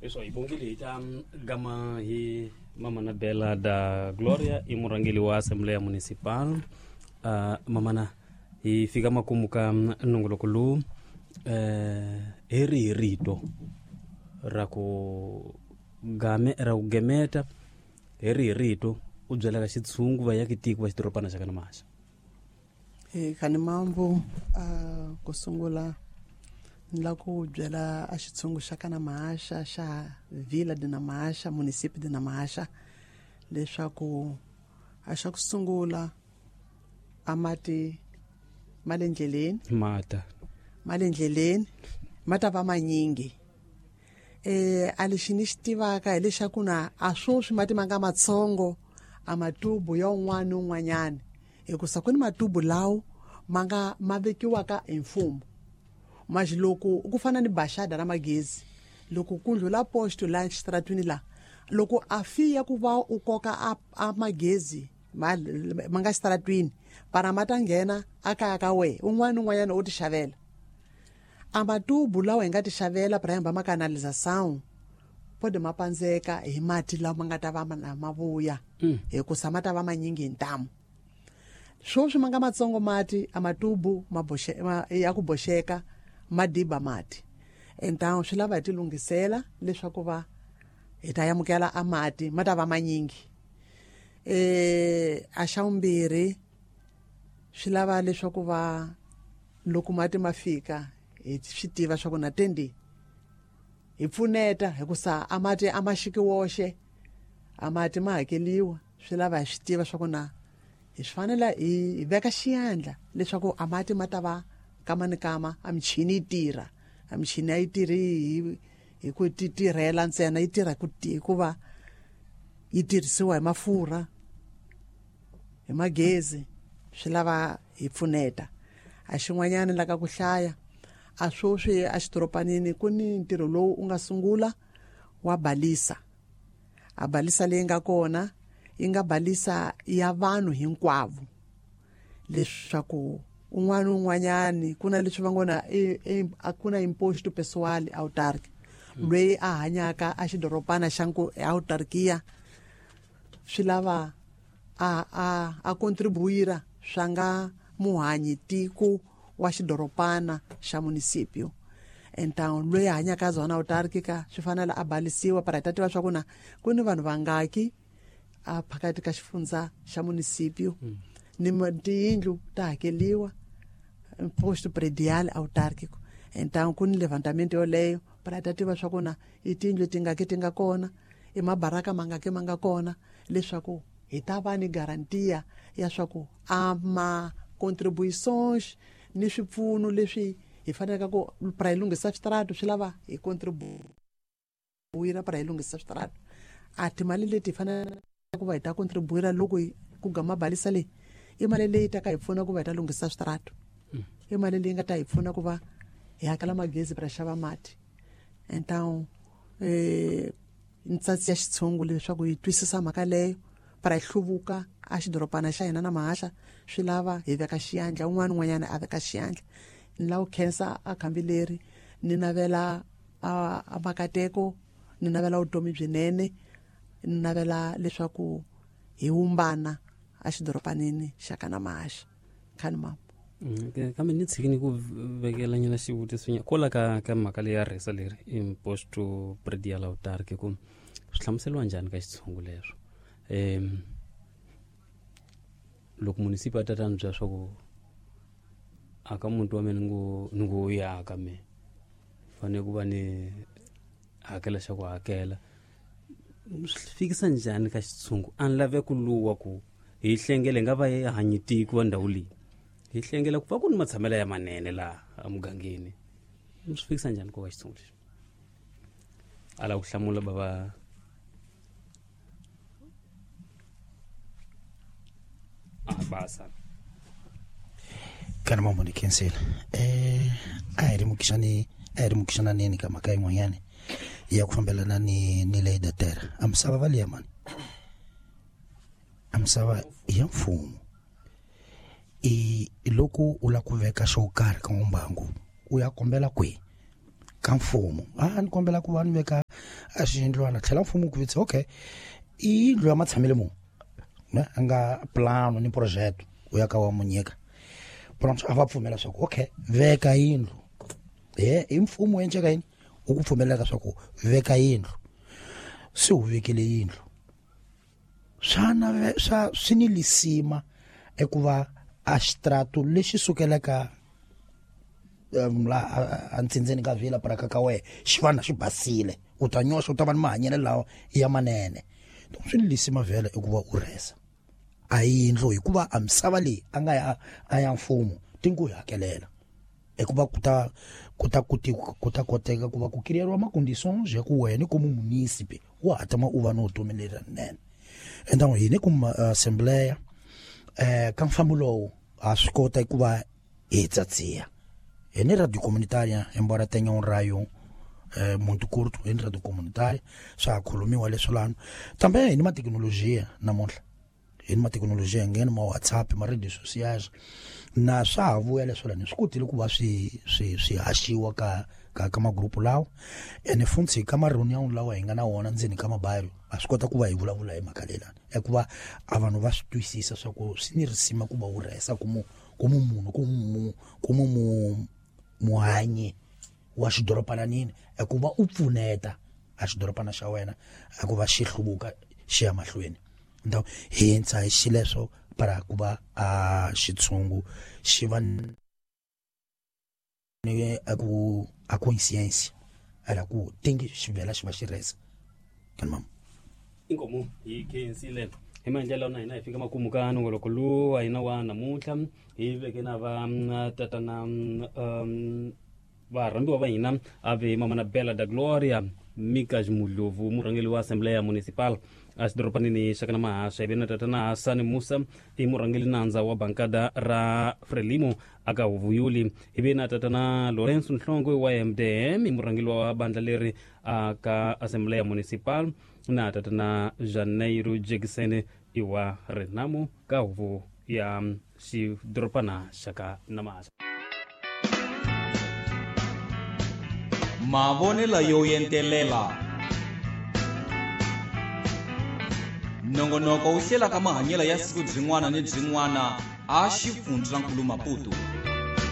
Leswo hi bongile hi ta gama hi Mamana Bela da Gloria, i murhangeli wa Assembleya Municipal. Mamana, hi fika makumu ka nongoloko lowu, hi rihi rito ra ku game ra ku gemeta, hi rihi rito u byelaka xitshungu va yaki tiko va xidorobana xa kana Maxa? Khani mambu, ku sungula ni la ku byela a xitshungu xa kana Mahaxa, xa Vila de Namahasha, municipio de Namahasha, leswaku a xa ku sungula a mati ma le ndleleni, mata ma le ndleleni ma ta va manyingi. A lexi ni xi tivaka hileswaku na a swoswi mati ma nga matsongo a matubu ya un'wana ni un'wanyana, hikusa ku ni matubu lawo ma nga ma vekiwaka hi mfumo. Manje loko ku fana ni baxada ra magezi, loko ku ndlula posto la xitaratwini la, loko a fiya ku va u koka a magezi ma nga xitaratwini, para ma ta nghena a kaya ka we un'wana ni un'wanyana u ti xavela. A matubu lawa hi nga ti xavela para hamba ma canalização pode ma pandzeka hi mati lawa ma nga ta va ma vuya, hikusa ma ta va manyingi hi ntamu. Swoswi ma nga matsongo mati a matubu ma boxe, ma, ya ku boxeka ma diba mati. Então swi lava hi ti lunghisela leswaku va hi ta amukela a mati ma ta va manyingi. A xa vumbirhi swi lava leswaku va loko mati ma fika hi swi tiva swa ku na tendi hi pfuneta, hikusa a mati a ma xiki woxe, a mati ma hakeliwa. Swi lava hi swi tiva swa ku na hi swi fanela hi veka xiyandla leswaku a mati ma ta va kama ni kama, a michini yi tirha. A michini a yi tirhi hi ku ti tirhela ntsena, yi tirha hikuva yi tirhisiwa hi mafurha, hi magezi. Swi lava hi pfuneta. A xin'wanyana la ka ku hlaya, a swoswi a xidoropanini ku ni ntirho lowu u nga sungula wa balisa. A balisa leyi nga kona yi nga balisa ya vanhu hinkwavo, leswaku un'wana ni un'wanyani ku na leswi va ngo na a ku na imposto pessoal autarky, loyi a hanyaka a xidorobana xa autarkia, swi lava a contribuira swa nga muhanyi tiko wa xidorobana xa municipio. Então loyi a hanyaka zona autarkica swi fanele a balisiwa para hi ta tiva swa ku na ku ni vanhu vangaki a phakati ka xifundza xa municipio, ni tiyindlu ta hakeliwa imposto predial autárquico. Então ku ni levantamento yoleyo para hi ta tiva swa ku na i tiyindlu tingaki ti nga kona, i mabaraka mangaki ma nga kona, leswaku hi ta va ni garantia ya swa ku a ma contribuições ni swipfuno leswi hi faneleke ku para hi lunghisa switaratu, swi lava hi contribuira para hi lunghisa switaratu. A timali leti hi faneleke ku va hi ta contribuira loko ku gama balisa leyi, i mali leyi ta ka hi pfuna ku va hi ta lunghisa switaratu, i mali leyi nga ta hi pfuna ku va hi hakela magezi para xava mati. Então ntsatsi ya xitshungu leswaku hi twisisa mhaka leyo para hi hluvuka a xidorobana xa hina na Mahaxa, swi lava hi veka xiyandla, un'wana ni un'wanyana a veka xiyandla. Ni lava ku khensa a khambi leri, ni navela a makateko, ni navela vutomi byinene, ni navela leswaku hi wumbana a xidorobanini xa ka na Mahaxa. Khani mama. Kambe ni tshiki ni ku vekela nyana xivutiso nyana kwala ka mhaka leyi ya rhesa leri imposto predial autarky, ku swi hlamuseriwa njhani ka xitshungu leswo? Loko munisipa a ta ni byela swa ku a ka muti wa mina ni ngo ya ka me fanele ku va ni hakela xa ku hakela, swi fikisa njhani ka xitshungu? A ni lave ku luwa ku hi hlengele nga va hi hanyi tiko wa ndhawu leyi, hi hlengela ku va ku ni matshamelo ya manene laha emugangeni. Swi fikisa njhani ku ka xitshungu lexi? A lava ku hlamula bava a basa. Kana mambo ni khensela. A hi lemukisani, a hi lemukisana ka mhaka yin'wanyana ya ku fambelana ni ley da terra. A misava va liya mani, a misava ya mfumo. I loko u lava ku veka xo karhi ka mbangu, u ya kombela kwihi? Ka mfumo. A ni kombela ku va ni veka A xiyindlwana tlhela mfumo ku vitsa okay i yindlu ya matshamele mu ne a nga plano ni projeto u ya ka wa mu nyika pronto a va pfumela swa ku okay veka yindlu he i mfumo enceka yini u ku pfumelelaka swa ku veka yindlu se u vekele yindlu swa nave swa swi ni lisima ekuva a xitrato lexi sukelaka la antsindzeni ka vila paraka ka wehe xi va na xi basile u ta nyoxa u ta va ni mahanyelo lawa ya manene donc swi ni lisima vhele i ku va u rhesa a yindlu hikuva a misava leyi a nga ya a ya mfumo ti ngo yi hakelela hikuva ku ta ku ta kuti ku ta koteka ku va ku kiriyeriwa ma-conditions ya ku wena komu munisipe wa ha tama u va ni vutomi lerinene endangu hini ku assembleya ka mfambo lowu ha swi kota ku va hi tsatsiya hi ni radio comunitaria embora tenha um raio muito curto hi ni radio comunitaria swa ha khulumiwa leswi lano tambe hi ni mathekinolojiya namuntlha hi ni mathekinolojiya ngheni ma WhatsApp ma radio sociais na swa ha vuya leswi lani swi kotile ku va swi swi swi haxiwa ka ka ka magrupu lawa ene funtsi ka ma-reunion lawa hi nga na wona ndzeni ka mabairo ha swi kota ku va hi vulavula hi mhaka leyilani ya ku va a vanhu va swi twisisa swa ku swi ni risima ku va wu rhesa ku mu ku mu munhu ku mu ku mu mu muhanyi wa xidoropananini ku va u pfuneta a xidorobana xa wena a ku va xi hluvuka xi ya mahlweni ndhawu hintsa hi xileswo para ku va a xitshungu xi va ni a ku a conscience ala ku tingi xi vhela xi va xi rhesa kani mama inkomu hi khensile hi maendlelo na hina hi fika makumu ka nongoloko lowu wa hina wa namuntlha hi veke na va tatana varhambiwa va hina a ve mama na Bela da Gloria Mika Mudlovu murhangeri wa Assembleya Municipal a xidorobanini xa kana Mahasha ivi na tatana Hasani Musa i murhangeri nandza wa bankada ra Frelimo aka Huvuyuli ivi na tatana Lorenzo Nhlongwe wa MDM i murhangeri wa bandla leri aka Assembleya Municipal na tatana Janeiro Jackson i wa Renamo ka huvo ya xidorobana xa ka Namahasha. Mavonelo yo entelela nongonoko wu hlelaka mahanyelo ya siku byin'wana ni byin'wana a xifundzankulu Maputo.